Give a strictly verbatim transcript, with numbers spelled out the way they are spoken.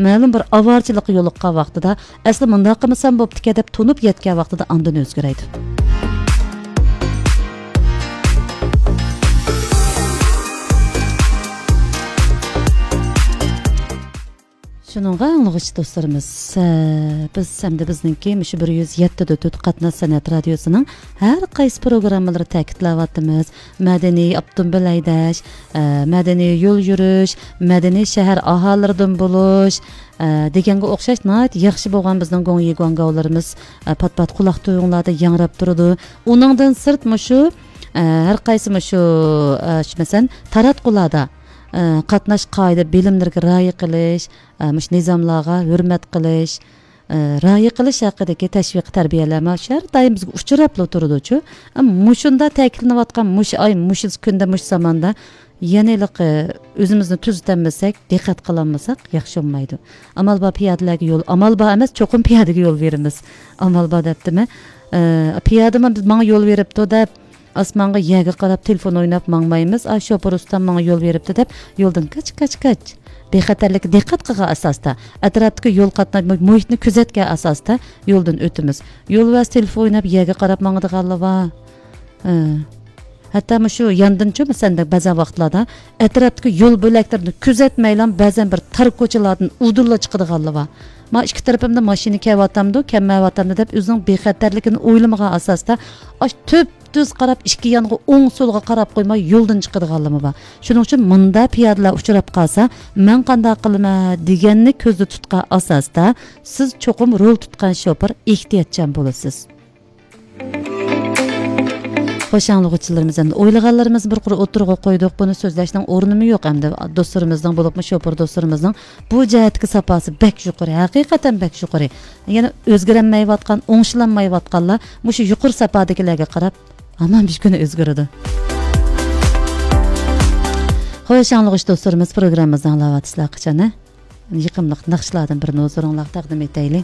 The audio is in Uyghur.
مەلۇم بىر ئاۋارىچىلىققا يولۇققان ۋاقتىدا، ئەسلى مۇنداق قىلمىسام بوپتىكەن دەپ تونۇپ يەتكەن ۋاقتىدا ئاندىن ئۆزگىرەيدۇ. شۇنىڭغا ئاڭلىغۇچى دوستلىرىمىز، ئە، بىز ئەمدى بىزنىڭكى مۇشۇ بىر يۈز يەتتە دە تۆت قاتناش سەنئەت رادىيوسىنىڭ ھەر قايسى پروگراممىلىرى تەكىتلەۋاتىمىز. مەدەنىي ئاپتوموبىل ھەيدەش، ئە، مەدەنىي يول يۈرۈش، مەدەنىي شەھەر ئاھالىلىرىدىن بولۇش، ئە، دېگەنگە ئوخشاش ناھايىتى ياخشى بولغان بىزنىڭ گوڭيى گۇاڭگاۋلىرىمىز، ئە، پات-پات قۇلاق تۈۋىڭلاردا ياڭراپ تۇرىدۇ. ئۇنىڭدىن سىرت مۇشۇ، ئە، ھەر قايسى مۇشۇ، ئە، شۇ مەسىلەن، تاراتقۇلاردا، ئە، قاتناش قائىدە بىلىملىرىگە رىئايە قىلىش، ئە، مۇشۇ نىزاملارغا ھۆرمەت قىلىش، ئە، رىئايە قىلىش ھەققىدىكى تەشۋىقىي تەربىيەلەر مانا شۇ ھەر دائىم بىزگە ئۇچراپلا تۇرىدۇچۇ. ئە، مۇشۇنداق تەكىتلىنىۋاتقان مۇشۇ ئاي، مۇشۇ كۈندە، مۇشۇ زاماندا يەنە ھېلىقى ئۆزىمىزنى تۈزىتەلمىسەك، دىققەت قىلالمىساق ياخشى بولمايدۇ. ئامال بار پىيادىلەرگە يول، ئامال بار ئەمەس، چوقۇم پىيادىگە يول بېرىمىز. ئامال بار دەپتىمەن. ئە، پىيادىمۇ بىز ماڭا يول بېرىپتۇ دەپ، ئاسمانغا يەرگە قاراپ تېلېفون ئويناپ ماڭمايمىز. ئا، شوپۇر ئۇستام ماڭا يول بېرىپتۇ دەپ يولدىن كاچ، كاچ، كاچ. بىخەتەرلىككە دىققەت قىلغان ئاساستا، ئەتراپتىكى يول قاتناش مۇ-، مۇھىتنى كۆزەتكەن ئاساستا يولدىن ئۆتىمىز. يولۋاس تېلېفون ئويناپ يەرگە قاراپ ماڭىدىغانلار بار. ھە. ھەتتا مۇشۇ ياندىنچۇ، مەسىلەن، بەزەن ۋاقىتلاردا ئەتراپتىكى يول بۆلەكلىرىنى كۆزەتمەيلا بەزەن بىر تار كوچىلاردىن ئۇدۇللا چىقىدىغانلار بار. ما ئىككى تەرىپىمدە ماشىنا كەۋاتامدۇ، كەلمەيۋاتامدۇ دەپ ئۆزىنىڭ بىخەتەرلىكىنى ئويلىمىغان ئاساستا، ئاش تۈپ تۈز قاراپ، ئىككى يانغا، ئوڭ سولغا قاراپ قويماي يولدىن چىقىدىغانلىرىمۇ بار. شۇنىڭ ئۈچۈن مۇنداق پىيادىلەر ئۇچراپ قالسا، مەن قانداق قىلىمەن دېگەننى كۆزدە تۇتقان ئاساستا، سىز چوقۇم رول تۇتقان شوپۇر ئېھتىياتچان بولىسىز. خوش، ئاڭلىغۇچىلىرىمىز، ئەمدى ئويلىغانلىرىمىزنى بىر قۇر ئوتتۇرىغا قويدۇق. بۇنى سۆزلەشنىڭ ئورنىمۇ يوق ئەمدى. دوستلىرىمىزنىڭ، بولۇپمۇ شوپۇر دوستلىرىمىزنىڭ بۇ جەھەتتىكى ساپاسى بەك يۇقىرى، ھەقىقەتەن بەك يۇقىرى. يەنە ئۆزگىرەلمەيۋاتقان، ئوڭشىلالمايۋاتقانلار مۇشۇ يۇقىرى ساپادىكىلەرگە قاراپ ھامان بىر كۈنى ئۆزگىرىدۇ. خوش، ئاڭلىغۇچى دوستلىرىمىز، پروگراممىمىزنى ئاڭلاۋاتىسىلەر قاچان، ھە؟ يېقىملىق ناخشىلاردىن بىرنى ھۇزۇرۇڭلارغا تەقدىم ئېتەيلى.